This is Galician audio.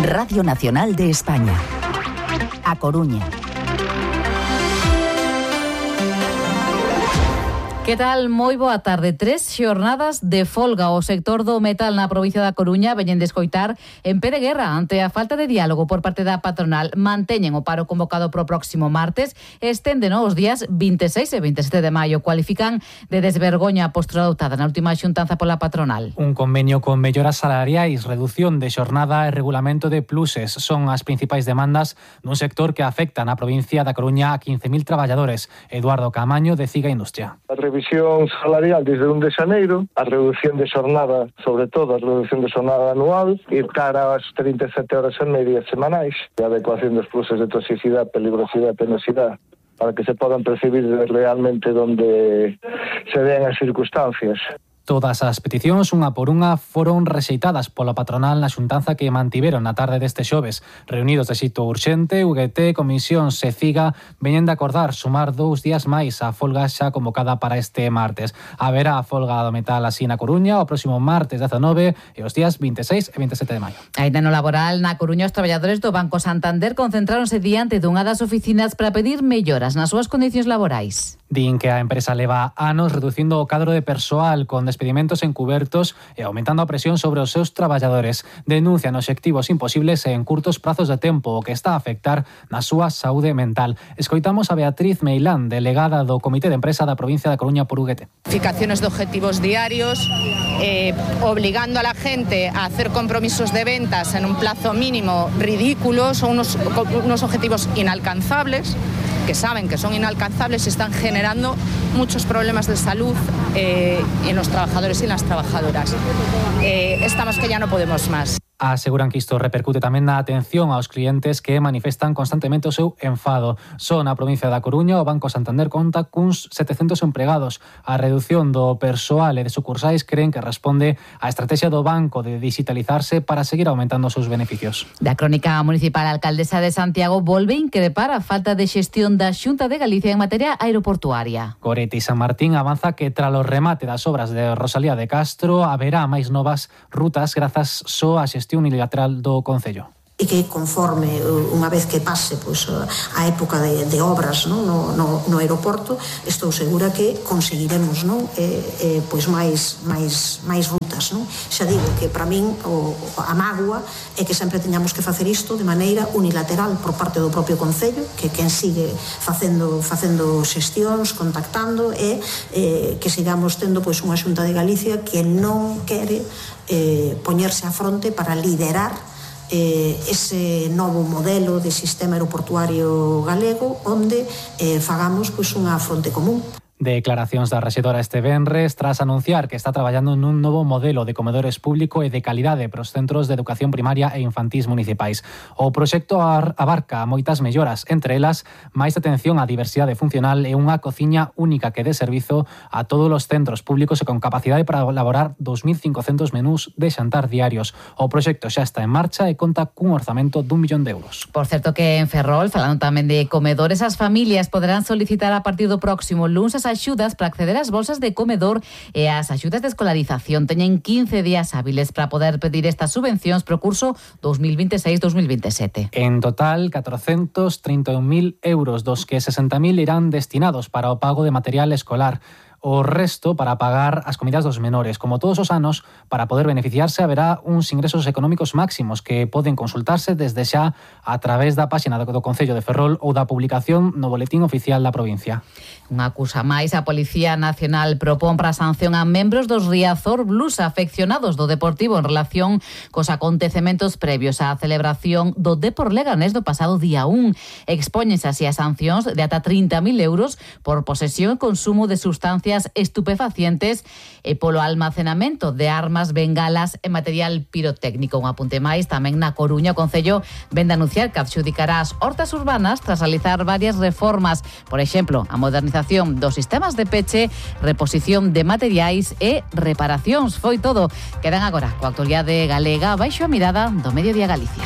Radio Nacional de España. A Coruña. Que tal? Moi boa tarde. 3 xornadas de folga. O sector do metal na provincia da Coruña veñen de escoitar en pé de guerra ante a falta de diálogo por parte da patronal. Manteñen o paro convocado pro próximo martes e estenden os días 26 e 27 de maio. Cualifican de desvergoña a postura adoptada na última xuntanza pola patronal. Un convenio con melloras salariais, reducción de xornada e regulamento de pluses son as principais demandas dun sector que afecta na provincia da Coruña a 15.000 traballadores. Eduardo Camaño, de CIGA Industria. A revisión salarial desde 1 de xaneiro, a reducción de xornada, sobre todo a reducción de xornada anual, ir cara ás 37 horas e media semanais, e a adecuación dos pluses de toxicidade, peligrosidade e penosidade, para que se podan percibir realmente donde se vean as circunstancias. Todas as peticións, unha por unha, foron rexeitadas pola patronal na xuntanza que mantiveron na tarde deste xoves. Reunidos de xeito urxente, UGT, Comisión e CIGA veñen de acordar sumar 2 días máis a folga xa convocada para este martes. Haberá a folga do metal así na Coruña o próximo martes 19 e os días 26 e 27 de maio. Ainda no laboral, na Coruña, os traballadores do Banco Santander concentráronse diante dunha das oficinas para pedir melloras nas súas condicións laborais. Din que a empresa leva anos reducindo o cadro de persoal con despedimentos encubertos e aumentando a presión sobre os seus traballadores. Denuncian obxectivos imposibles e en curtos prazos de tempo, o que está a afectar na súa saúde mental. Escoitamos a Beatriz Meilán, delegada do Comité de Empresa da provincia da Coruña por UGT. Fijaciones de objetivos diarios, obligando a la gente a hacer compromisos de ventas en un plazo mínimo ridículos, o unos objetivos inalcanzables, que saben que son inalcanzables y están generando muchos problemas de salud en los trabajadores y en las trabajadoras. Estamos que ya no podemos más. Aseguran que isto repercute tamén na atención aos clientes que manifestan constantemente o seu enfado. Só na provincia da Coruña o Banco Santander conta cuns 700 empregados. A reducción do persoal e de sucursais creen que responde á estrategia do banco de digitalizarse para seguir aumentando os seus beneficios. Da crónica municipal, a alcaldesa de Santiago volve increpar a falta de xestión da Xunta de Galicia en materia aeroportuaria. Gorete San Martín avanza que tras o remate das obras de Rosalía de Castro haberá máis novas rutas grazas só a xestión unilateral do Concello. E que conforme unha vez que pase a época de obras no aeroporto, estou segura que conseguiremos máis rutas. Xa digo que para min a mágoa é que sempre teñamos que facer isto de maneira unilateral por parte do propio Concello, que quen sigue facendo xestións, contactando, e que sigamos tendo unha Xunta de Galicia que non quere poñerse á fronte para liderar ese novo modelo de sistema aeroportuario galego onde fagamos unha fronte común. Declaracións da rexedora este venres tras anunciar que está traballando nun novo modelo de comedores público e de calidade para os centros de educación primaria e infantís municipais. O proxecto abarca moitas melloras, entre elas máis atención á diversidade funcional e unha cociña única que dé servizo a todos os centros públicos e con capacidade para elaborar 2.500 menús de xantar diarios. O proxecto xa está en marcha e conta cun orzamento d'1 millón de euros. Por certo que en Ferrol, falando tamén de comedores, as familias poderán solicitar a partir do próximo luns as axudas para acceder ás bolsas de comedor e ás axudas de escolarización. Teñen 15 días hábiles para poder pedir estas subvencións pro curso 2026-2027. En total, 431.000 euros, dos que 60.000 irán destinados para o pago de material escolar. O resto para pagar as comidas dos menores. Como todos os anos, para poder beneficiarse haberá uns ingresos económicos máximos que poden consultarse desde xa a través da páxina do Concello de Ferrol ou da publicación no Boletín Oficial da provincia. Unha acusa máis, a Policía Nacional propón para sanción a membros dos Riazor Blues afeccionados do Deportivo en relación cos acontecementos previos á celebración do Depor Leganés do pasado día 1. Expóñense así a sancións de ata 30.000 euros por posesión e consumo de sustancias estupefacientes e polo almacenamento de armas, bengalas e material pirotécnico. Un apunte máis, tamén na Coruña o Concello vende a anunciar que adxudicará as hortas urbanas tras realizar varias reformas, por exemplo, a modernización dos sistemas de peche, reposición de materiais e reparacións. Foi todo. Quedan agora coa actualidade galega baixo a mirada do Mediodía Galicia.